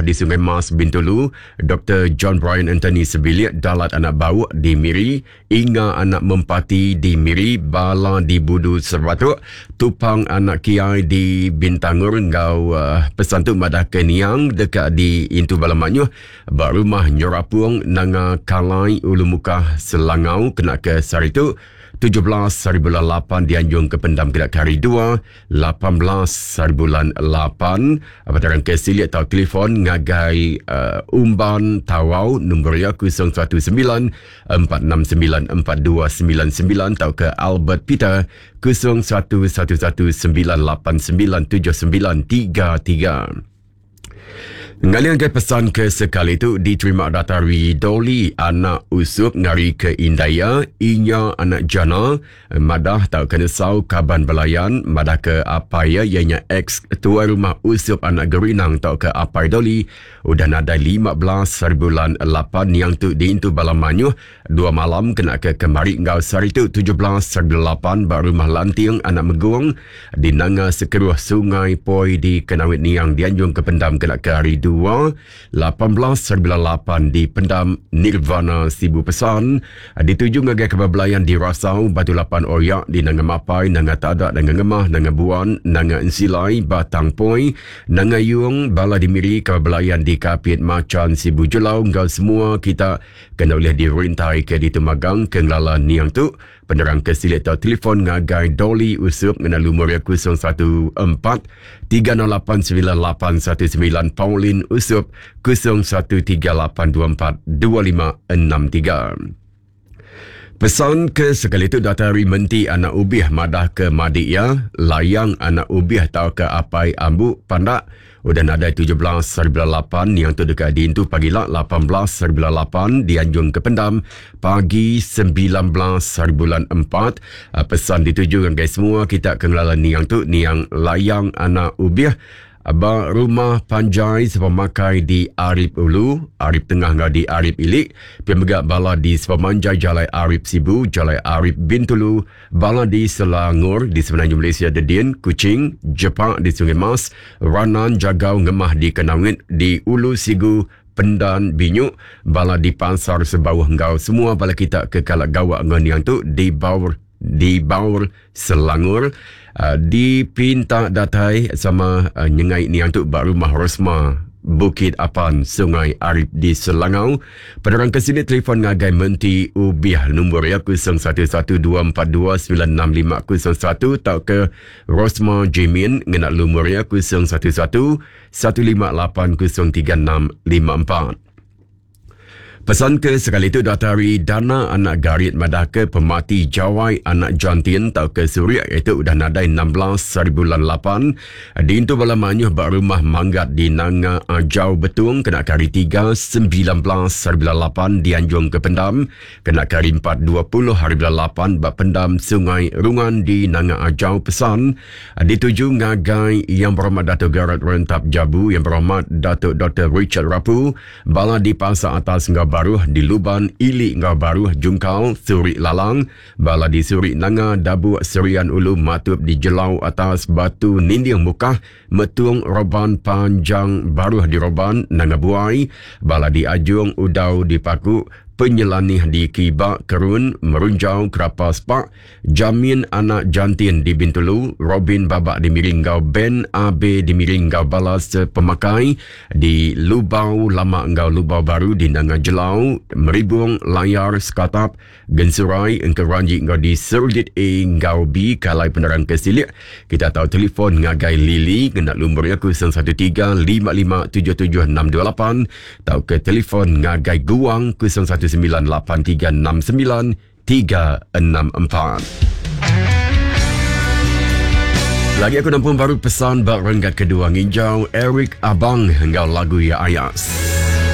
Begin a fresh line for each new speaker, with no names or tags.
di Sungai Mas, Bintulu, Doktor John Brian Anthony sebilik Dalat anak Bauk di Miri, Inga anak Mempati di Miri, Bala di Budu Seratuk, Tupang anak Kiai di Bintangor enggau pesan tu madahka niang deka diintu bala mayuh ba Rumah Nyerapung Nanga Kalai Ulu Mukah Selangau kena ke sehari tu 17 hari bulan 8 dianjung ke pendam kena ke hari 2 18 hari bulan 8. Penerang ke silik tau telefon ngagai uh, Umban Tawau nombor iya 019 469 4299 tauka Albert Peter 011 11989 7933. Ngalih ngagai pesan ke sekali tu diterima datari Dolly anak Usup ngari ke indai iya Inya anak Jana madah tauka nesau kaban belayan madah ke apai iya iya nya ex tuai rumah Usup anak Gerinang tauka apai Dolly udah nadai 15 hari bulan 8 niang tu diintu bala mayuh Dua malam kena ke kemari enggau sehari tu 17 bulan 8 ba Rumah Lanting Anak Megung di Nanga Sekeruh Sungai Poi di Kenawit Niang dianjung ke pendam kena ke hari 2 18 bulan 8 di Pendam Nirvana Sibu Pesan dituju ngagai kaban belayan di Rasau Batu Lapan Oyak di Nanga Mapai Nanga Tada Nanga Ngemah Nanga Buan Nanga Ensilai Batang Poi Nanga Yung bala di Miri kaban belayan di Kapit Machan Sibu Julau enggau semua kita Kena ulih dirintai ke ditu magang ke ngelala niang tu, penerang ke silik tau telefon ngagai Dolly Usup ngena lumur iya 014 308 9819 Pauline Usup 01 3824 2563. Pesan ke sekali tu datai ari Menti Anak Ubih madah ke madik iya, Layang Anak Ubih tauka Apai Ambu Pandak Udah nadai 17 hari bulan 8 niang tu deka diintu pagila 18 hari bulan 8 dianjung ke pendam pagi 19 hari bulan 4. Ah, pesan dituju ngagai semua kita ke ngelala niang tu niang Layang Anak Ubih ba rumah panjai sepemakai di Arip Ulu, Arip Tengah enggau di Arip Ili, pia mega bala di sepemanjai Jalai Arip Sibu, Jalai Arip Bintulu, Bala di Selangor di Semenanjung Malaysia Dedin, Kuching, Jepak di Sungai Mas, Ranan, Jagau, Ngemah di Kenangit, di Ulu Sigu, Pendan, Binyuk, bala di Pasar Sebauh enggau semua bala kita ke kala gawa enggau niang tu di Baur di Baur Selangor uh, dipinta datai sama uh, nyengai niang tu ba rumah Rosma Bukit Apan, Sungai Arip di Selangau. Penerang ke sini telefon ngagai Menti Ubih nombor iya 0112429651 tauka Rosma Jimin ngena lumur iya 011 1580364. Pesan ke sekali tu datai ari Dana anak Garit madahka pemati Jawai anak Jantin tauka Suriak iaitu udah nadai 16 hari bulan 8 diintu bala mayuh ba rumah Manggat di Nanga Ajau Betong kena ke hari 3 19 hari bulan 8 dianjung ke pendam kena ke hari 4 20 hari bulan 8 ba pendam Sungai Rungan di Nanga Ajau Pesan Dituju ngagai Yang Berhormat Dato Gerard Rentap Jabu, Yang Berhormat Dato Dr. Richard Rapu, bala di Pasar Atas enggau Baruh di Luban, Ili enggau Baruh Jungkal, Suri Lalang, bala di Suri Nanga, Dabuk, Serian Ulu, Matup di Jelau Atas, Batu Ninding Mukah, Metung, Roban, Panjang, Baruh di Roban, Nanga Buai, bala di Ajung, Udau di Paku, Penyelanih di Kiba, Kerun, Merunjau, Kerapa Spak, Jamin anak Jantin di Bintulu, Robin Babak di Miri enggau Ben Abe di Miri enggau bala sepemakai di Lubau Lama enggau Lubau Baru di Nanga Jelau, Meribung, Layar, Sekatap, Gensurai, Engkeranji enggau di Serudit A enggau B kalai penerang ke silik. Kita tau telefon ngagai Lily ngena lumur iya 013 55 77 628 tauka telefon ngagai Guang 019 8369 364. Lagi aku nampung baru pesan ba renggat kedua nginjau Eric Abang enggau lagu iya Ayas.